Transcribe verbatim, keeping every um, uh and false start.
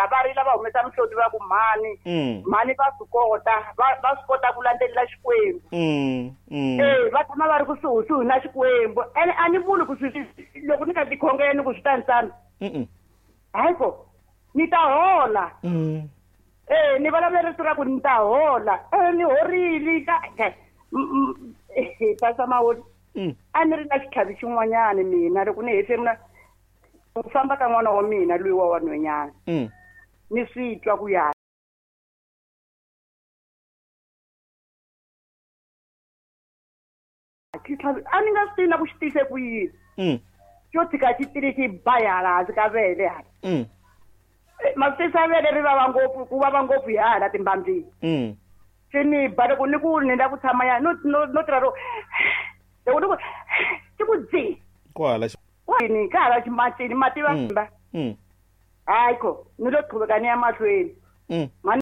rila va rila va humesa mihloti va ku mhani Mm. mhani va swi kota va va swi kota ku landzelela Xikwembu. Mm. Mm. Eh va tshama va ri kusuhisuhi na Xikwembu ene a ni vuli ku swi loko ni ka tikhongeni ku swi ta ni tsana. Mm. Hayi ko ni ta hola. Mm. Eh ni vulavula rito ra ku ni ta hola. Eh ni horile ka eh Pastor Maholi. Mm. A ni ri na xitlhavi xin'wanyana mina loko ni hefemula ku famba ka n'wana wa mina loyi wa wanhwanyana. Mm. Ni swi twa ku ya xitlhavi a ni nga swi tivi na ku xi tise ku yini. Mm. Xo tshika xi tile xi ba hala hansi ka vele hala. Mm. Masisa vele ri vava ngopfu ku vava ngopfu hi hala timbambyini. Mm. Xi ni ba loko ni ku ni la ku tshama ya no no no tirha ro loko ni ku xi ku dzi. Kwala xi Ni ka hala ximatini mati va Mm. ba. Mm. Hayi ko ni lo qhubeka ni ya mahlweni. Mm. Mhani